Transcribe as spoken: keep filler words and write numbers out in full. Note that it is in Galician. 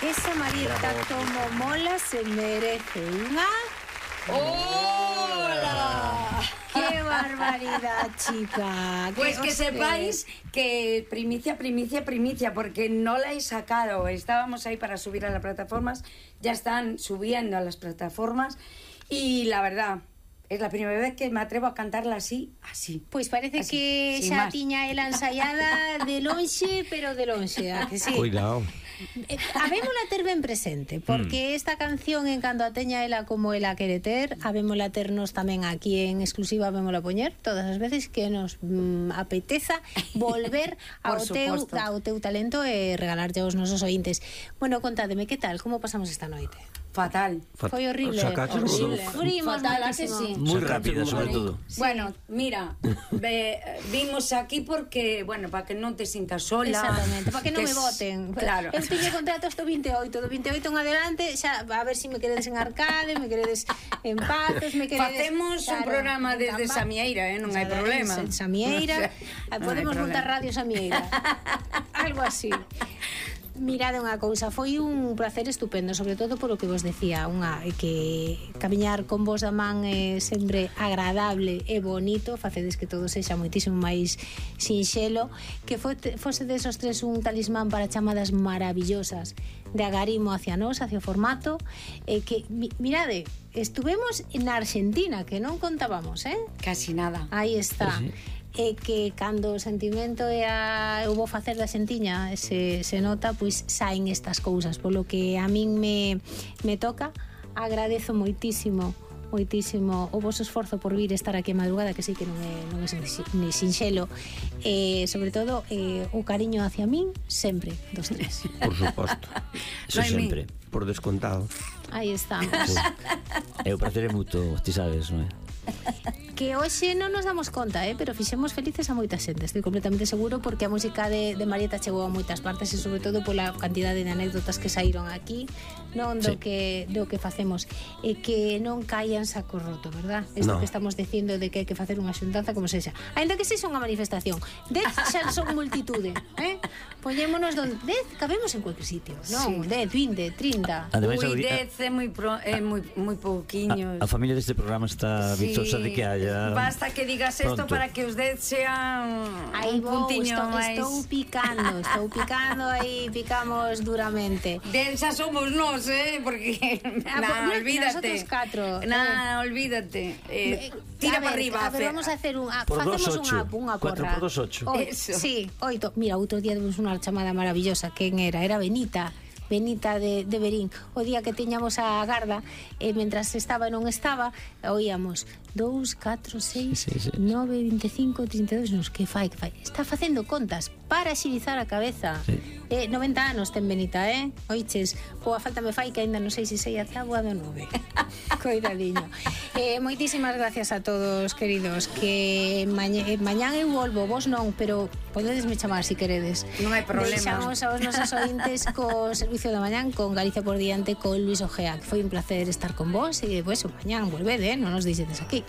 Esa Marieta como mola se merece unha... ¡Hola! ¡Qué barbaridad, chica! Pues que sepáis que primicia, primicia, primicia, porque no la he sacado. Estábamos ahí para subir a las plataformas, ya están subiendo a las plataformas y la verdad... Es la primera vez que me atrevo a cantarla así, así. Pois parece así, que xa tiña ela ensaiada de lonxe, pero de lonxe, a que sí. Cuidado. Eh, habémola ter ben presente, porque mm. esta canción, en cando a teña ela como ela quere ter, habémola ternos tamén aquí en exclusiva, habémola poñer todas as veces que nos mm, apeteza volver ao, teu, ao teu talento e regalarlle aos nosos ointes. Bueno, contádeme, que tal? Como pasamos esta noite? Fatal. Fue horrible. Horrible. Furimos Fatal, ¿a que sí? Muy rápida, sobre todo. Sí. Bueno, mira, ve, vimos aquí porque, bueno, para que non te sintas sola. Exactamente, para que non me voten. Claro. Eu teño contrato hasta o vinte e oito, do vinte e oito en adelante, xa, a ver se si me queredes en Arcade, me queredes en Pazos, me queredes... Facemos claro, un programa desde Samieira, eh, non hai problema. En Samieira, no, podemos montar radio Samieira. Algo así. Mirade unha cousa, foi un placer estupendo, sobre todo polo que vos decía, unha que camiñar con vos da man é sempre agradable e bonito, facedes que todo sexa moitísimo máis sinxelo, que fose desos tres un talismán para chamadas maravillosas de agarimo hacia nós, hacia o formato, e que, mirade, estuvemos na Argentina, que non contábamos, eh? Casi nada. Aí está. Sí, sí. E que cando o sentimento e a eu vou facer da xentiña se, se nota, pois saen estas cousas, polo que a min me, me toca. Agradezo moitísimo moitísimo o vosso esforzo por vir estar aquí a madrugada, que sei que non é, non é ni sinxelo, e sobre todo eh, o cariño hacia min sempre, dos tres. Por suposto. Eso no sempre, por descontado. Aí estamos. Sí. É o prazer é mutuo, ti sabes, non é? Que hoxe non nos damos conta, eh, pero fixemos felices a moita xente, estou completamente seguro, porque a música de, de Marieta chegou a moitas partes e sobre todo pola cantidade de anécdotas que saíron aquí, non do, sí. que, do que facemos, e que non caian saco roto, verdad? Isto no. que estamos dicindo de que hai que facer unha xuntanza como sexa, ainda que sexa unha manifestación, dez xa son multitude, eh? Poñémonos donde dez, cabemos en cualquier sitio, non? Sí. dez, vinte, trinta. Ademais, Ui, dez é moi pro, é moi moi pouquiño. A, a familia deste programa está sí. vizosa de que haya. Basta que digas isto para que os dez sean aí un puntiño estou, máis. Estou picando, estou picando aí, picamos duramente. dez xa somos nós, eh, porque ah, nah, pues, olvídate. Nosotros catro. Nah, eh. olvídate. Eh, tira para arriba. A ver, vamos a hacer un a, facemos unha unha porra. cuatro por dos, ocho. Sí, oito. Mira, outro día demos unha chamada maravillosa. Quen era? Era Benita. Benita de, de Berín. O día que teñamos a garda, e mentras estaba e non estaba, oíamos dous, catro, seis, sí, sí, sí. nove, veinticinco, trinta e dos, nos, que fai, que fai? Está facendo contas para xilizar a cabeza. Sí. Eh, noventa anos ten Benita, eh? Oiches, boa falta me fai que ainda non sei se sei a tábua do nove. Coidadiño. Eh, moitísimas gracias a todos, queridos, que maña, eh, mañán eu volvo, vos non, pero podedesme chamar se si queredes. Non hai problema. Deixamos aos nosos ointes co servicio da mañán con Galicia por diante con Luis Ojea, que foi un placer estar con vos e, pues, mañán volvede, eh? Non nos deixedes aquí.